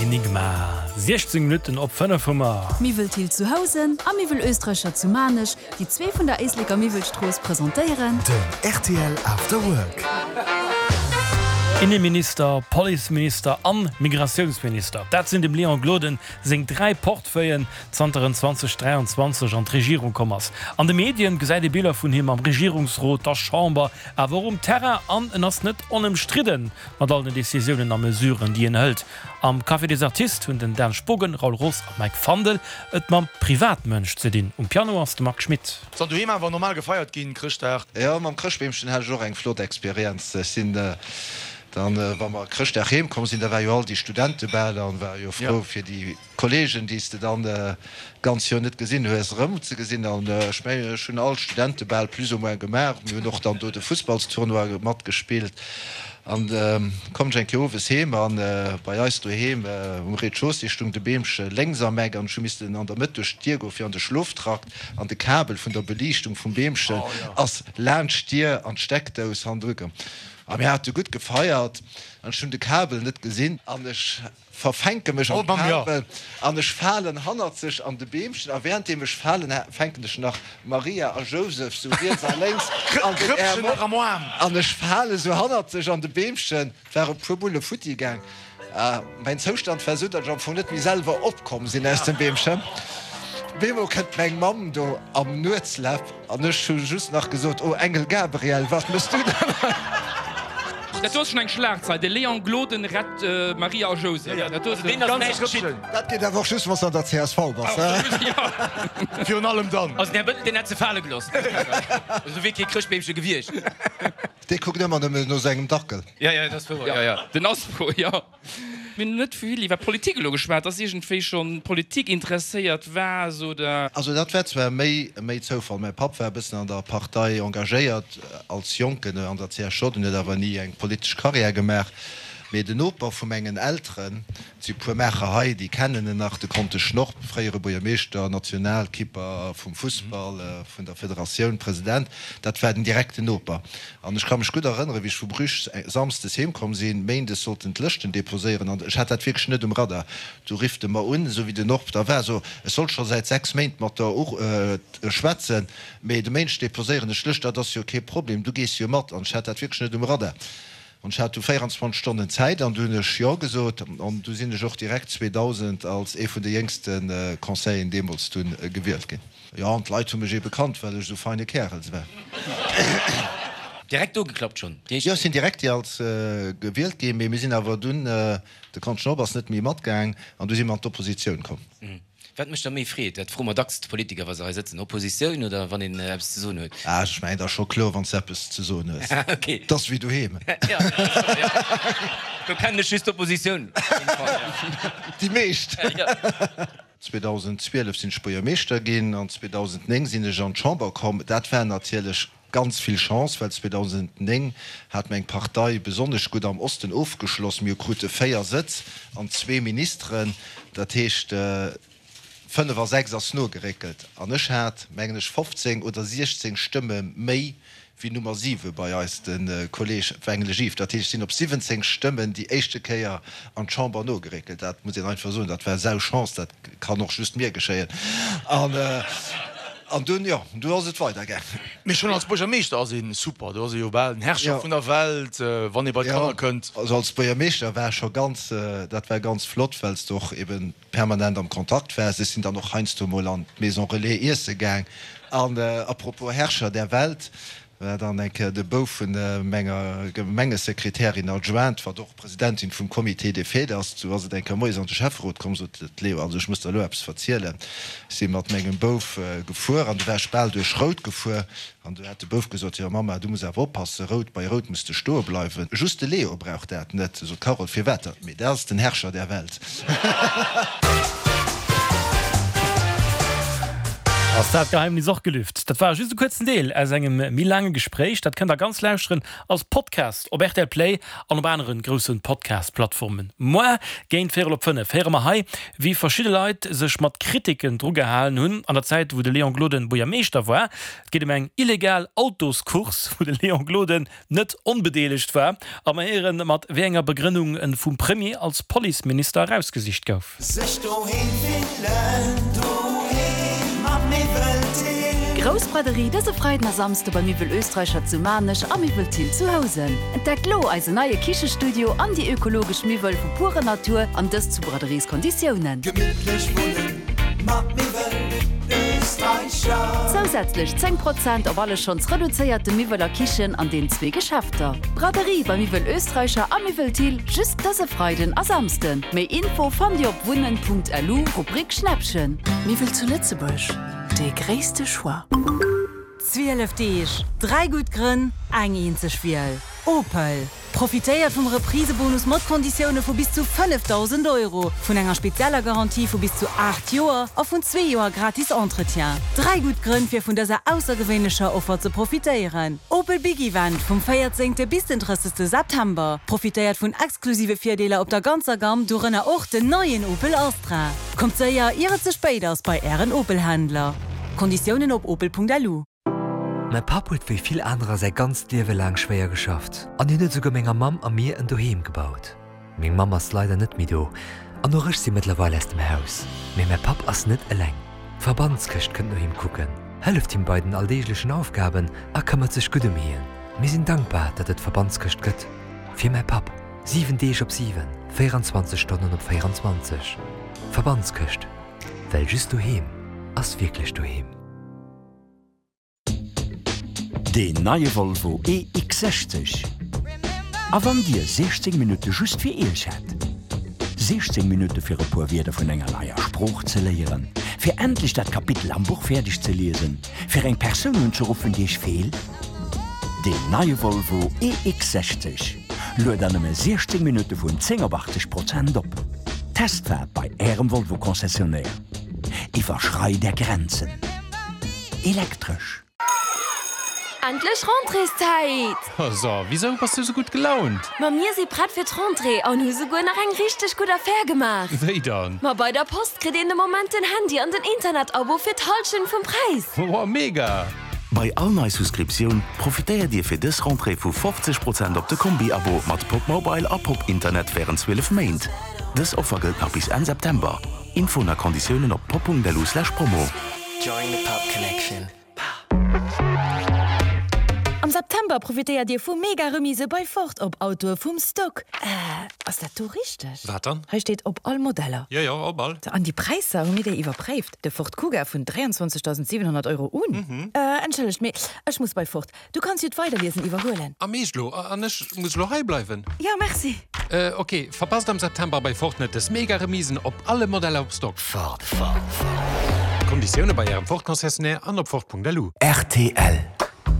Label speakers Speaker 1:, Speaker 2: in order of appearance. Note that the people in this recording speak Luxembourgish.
Speaker 1: Enigma. 16 Minutten op 5 hu mer.
Speaker 2: Miwwel Thill zu Housen a Miwwel Oestreicher zu Maarnech, déi zwee vun der Éisleker Miwwelstrooss, presentéieren.
Speaker 3: Den rtl After Work.
Speaker 1: Inneminister, Policeminister an Migratiounsminister, dat sinn dem Léon Gloden seng 3 Portefeuillen zanter en 2023 an d'Regierung komm ass. An de Medien gesäit ee Biller vun him am Regierungsrot, der Chamber, awer och um Terrain an en ass net onëmstridden mat all den Decisiounen a Mesuren, déi en hëlt. Am Café des Artistes hunn den Dan Spogen, Raoul Roos a Mike Fandel et mam Privatmënsch ze dinn. Um Piano ass de Marc Schmitt.
Speaker 4: Soll doheem awer normal gefeiert ginn, Chrëschtdag?
Speaker 5: Jo, mam Chrëschtbeemchen hat ech och eng flott Experienz. Ech sinn dann, wa mer Chrëschtdag heem komm sinn, da war jo all déi Studentebal an war jo frou fir déi Kollegen, déi s de dann d'ganz Joer net gesinn hues, erëm ze gesinn. An ech mengen, ech hunn all Studentebal plus ou moins gemaach. Mir hunn och dann do de Fussballstournoi matgespillt. An komm ech eng Kéier owes heem an bei eis doheem um Rez-de-chaussée stung de Beemche lénks am Eck an ech hu missten an der Mëtt duerch d'Dier goen fir an de Schloftrakt an de Kabel vun der Beliichtung vum Beemchen ass laanscht d'Dier an d'Steckdous hannendru komm. A mir hate gutt gefeiert an ech hunn de Kabel net gesinn an ech verfänke mech am Kabel an ech falen hannerzeg an de Beemchen a währenddeem ech falen fänken ech nach Maria a Jousef sou riets a lénks an den Äerm op an ech fale sou hannerzeg an de Beemchen. Et ware puer Bulle futti gaang. Mäin Zoustand war sou, datt ech am Fong net méi selwer opkomm sinn aus dem Beemchen. Bemol kënnt meng Mamm do am Nuetslaf An ech hu just nach gesot, Oh Engel Gabriel, wat mëss du dann hei?
Speaker 6: Dat do ass schon eng Schlagzeil, De Léon Gloden rett Maria a Jousef. Dat do ass e ganze Schrëppchen.
Speaker 5: Dat geet awer och just, wann s de an der csv bass, he?
Speaker 4: Virun allem dann.
Speaker 6: Also den Här Bëttel, deen hätt se fale gelooss. Do wier kee Chrëschtbeemche gewiescht.
Speaker 5: Dee kuckt ëmmer nëmmen no sengem Dackel.
Speaker 6: Jo, jo, dat ass wouer, jo, jo. Den Aspo, jo. Mir hunn net vill iwwer Politik elo geschwat. Ass iergendwéi schonn Politik interesséiert waars oder?
Speaker 5: Also dat war zwar méi méi Zoufall. Mäi Papp war e bëssen an der Partei engagéiert als Jonken an der CSJ, en huet awer ni eng politesch Karriär gemaach. Mee den Noper vu mengen Elteren, et si puer Maacher hei, déi kennen en nach, de Conte Schnorp, fréiere Buergermeeschter, Nationalkipper vum Fussball, vun der Federatioun, President, dat war den direkten Noper. An ech ka mech gutt erënneren, wéi ech vu Bruges samsdes heem komm sinn, méindes sollten d'Lëschten deposéieren an ech hat dat wierklech net um Radar. Du rifft e mer un, esou wéi den Orb da war, so, ech soll scho säit 6 Méint mat der schwätzen, mee de Méindeg deposéieren ech d'Lëscht, dat ass jo kee Problem, du gees jo mat. An ech hat dat wierklech net um Radar. An ech hat du 24 Stonnen Zäit an du hunn ech Jo gesot an du sinn ech och direkt 2000 als ee vun de jéngste Conseilleren deemools dunn gewielt ginn. Jo, an d'Leit hu mech ebe kannt, well ech esou feine Kärels war.
Speaker 7: Direkt ugeklappt schonn?
Speaker 5: Jo, ech sinn direkt als gewielt ginn, mee mir sinn awer dunn, de Konst Schnobb ass net méi matgaang an du si mer an d'Oppositioun komm.
Speaker 7: Wat mécht der méi Freed? Dat froe mer dacks d'Politiker, wa se hei sëtzen. Oppositioun oder wann een eppes ze soen huet?
Speaker 5: Ah, ech mengen, et ass scho kloer, wann s de eppes ze soen hues. Et ass wéi doheem.
Speaker 7: Jo, dat ass scho, jo. Do kennen ech just d'Oppositioun op jidde Fall, jo.
Speaker 5: Déi meescht. 2012 sinn ech Buergermeeschter ginn an 2009 sinn ech an d'Chamber komm. Dat war natierlech ganz vill Chance, well 2009 hat meng Partei besonnesch gutt am Osten ofgeschloss. Mir krute 4 Sëtz an zwee Ministeren, dat heescht 5 a 6 ass nogeréckelt an ech hat, mengen ech, 15 oder 16 Stëmme méi wéi Nummer 7 bei eis, de Kolleg Wengele Yves. Dat heescht, ech sinn op 17 Stëmmen déi éischte Kéier an d'Chamber nogeréckelt. Dat muss een einfach soen, dat war sau Chance, dat kann och just mir geschéien. An dunn, jo, du ass et weidergaangen.
Speaker 4: Mee schonn als Buergermeeschter ass ee super, do ass ee jo bal den Herrscher vun der Welt, wann ee bei d'Kanner kënnt.
Speaker 5: Also als Buergermeeschter war scho ganz, dat war ganz flott, well s de och eben permanent am Kontakt waars. Ech sinn dann och heiansdo mol an d'Maison Relais iesse gaang. An à propos Herrscher der Welt, war dann eng Kéier de Bouf vun menger Gemengesekretärin adjointe, wat och Presidentin vum Comité des fêtes ass, du ass et eng Kéier moies an de Schäfferot komm, sot d'Léo, also ech muss der elo eppes verzielen, ech si mat mengem Bouf gefuer an du war ech bal duerch Rout gefuer An du hat de Bouf gesot, Jo Mamma, du muss awer oppassen, rout, bei rout muss de stoe bleiwen. Just de Leo brauch dat net. Sot d'Carole, Firwat dat? Mee dat ass den Herrscher der Welt.
Speaker 1: Ass dat Geheimnis och gelüft? Dat war just e kuerzen Deel aus engem méi laange Gespréich. Dat kënnt der ganz lauschteren als Podcast op rtl Play an op aneren groussen Podcast-Plattformen. Moar géint véierel op 5 héiere mer hei, wéi verschidde Leit sech mat Kritiken drugehalen hunn an der Zäit, wou de Léon Gloden Buergermeeschter war. Et geet ëm eng illegal Autoscourse, wou de Léon Gloden net onbedeelegt war. A mer héieren, mat wéi enger Begrënnung en vum Premier als Policeminister erausgesicht gouf.
Speaker 3: Sech doheem fillen, doheem am Miwwel Thill.
Speaker 2: Grouss Braderie dëse Freiden a Samsde bei Miwwel Österreicher zu Maarnech a Miwwel Thill zu Housen. Entdeckt lo eisen neie Kichestudio an déi ökologesch Miwwel vu purer Natur an dëst zu Braderieskonditiounen.
Speaker 3: Gemittlech wunnen mat Miwwel Österreicher.
Speaker 2: Zousätzlech 10 Prozent op alle schonns reduzéierte Miwwel a Kichen an den zwee Geschäfter. Braderie bei Miwwel Österreicher a Miwwel Thill just dëse Freiden a Samsden. Méi Info fannt Dir op wunnen.lu, Rubrik Schnäppchen.
Speaker 8: Miwwel zu Lëtzebuerg, dee gréisste Choix.
Speaker 9: 12 Deeg, 3 gutt Grënn, eng eenzeg Wiel, Opel! Profitéiert vum Reprisebonus mat Konditioune vu bis zu 5.000 Euro, vun enger spezieller Garantie vu bis zu 8 Joer a vun zwee Joer gratis Entretien. 3 gutt Grënn fir vun dëser aussergewéinlecher Offer ze profitéieren. Opel Big Event vum 14. bis den 30. September. Profitéiert vun exklusive Virdeeler op der ganzer Gamm, dorënner och den neien Opel Astra. Kommt séier ier et ze spéit ass bei Ären Opel-Händler. Konditiounen op opel.lu.
Speaker 10: Mäi Papp huet wéi vill anerer säi ganzt Liewe laang schwéier geschafft an hien huet esouguer menger Mamm a mir en Doheem gebaut. Meng Mamm ass leider net méi do an och ech si mëttlerweil aus dem Haus. Mee mäi Papp ass net eleng. D'Verbandskëscht kënnt no him kucken, hëlleft him bei den alldeeglechen Aufgaben a këmmert sech gutt ëm hien. Mir sinn dankbar, datt et d'Verbandskëscht gëtt. Fir mäi Papp, 7 Deeg op 7, 24 Stonnen op 24. Verbandskëscht, well just doheem ass wierklech doheem.
Speaker 11: Deen neie Volvo EX60. A wann Dir 16 Minutte just fir Iech hätt? 16 Minutte fir e puer Wierder vun enger neier Sprooch ze léieren, fir endlech dat Kapitel am Buch fäerdeg ze liesen, fir eng Persoun unzeruffen, déi Iech feelt? Deen neie Volvo EX60 luet an nëmme 16 Minutte vun 10 op 80 Prozent op. Testfaart bei Ärem Volvo-Concessionnaire. Iwwerschreit Är Grenzen. Elektresch.
Speaker 12: Endlech Rentréeszäit!
Speaker 13: So, wisou bass du sou gutt gelaunt?
Speaker 12: Ma mir si prett fir d'Rentrée an hu souguer nach eng richteg gutt Affär gemaach!
Speaker 13: Wéi dann?
Speaker 12: Ma bei der Post kritt een de Moment den Handy an den Internet-Abo fir d'Hallschent vum Präis!
Speaker 13: Woah, mega!
Speaker 14: Bei all nei Souscriptioun profitéiert Dir fir dës Rentrée vu 50 Prozent op de Kombi-Abo mat Popmobile a Popinternet wärend 12 Méint. Dës Offer gëllt nach bis Enn September. Infoen a Konditiounen op pop.lu/promo.
Speaker 3: Join the pop connection.
Speaker 9: Am September profitéiert Dir vu mega Remise bei Ford op Autoe vum Stock. Äh, ass dat do richteg?
Speaker 13: Wat dann?
Speaker 9: Hei steet op all Modeller.
Speaker 13: Jo, jo, op all.
Speaker 9: An déi Präisser, hu mir déi iwwerpréift? De Ford Kuga vun 23.700 Euro un. Äh, entschëllegt, mee ech muss bei Ford. Du kanns jo d'Weiderliesen iwwerhuelen.
Speaker 13: Am Eescht lo? An ech muss lo hei bleiwen?
Speaker 9: Jo, merci.
Speaker 13: Ok, verpasst am September bei Ford net des mega Remisen op alle Modeller op Stock.
Speaker 3: Ford, Ford, Ford.
Speaker 13: Konditioune bei Ärem Ford Concessionnaire an op Ford.lu.
Speaker 11: Rtl.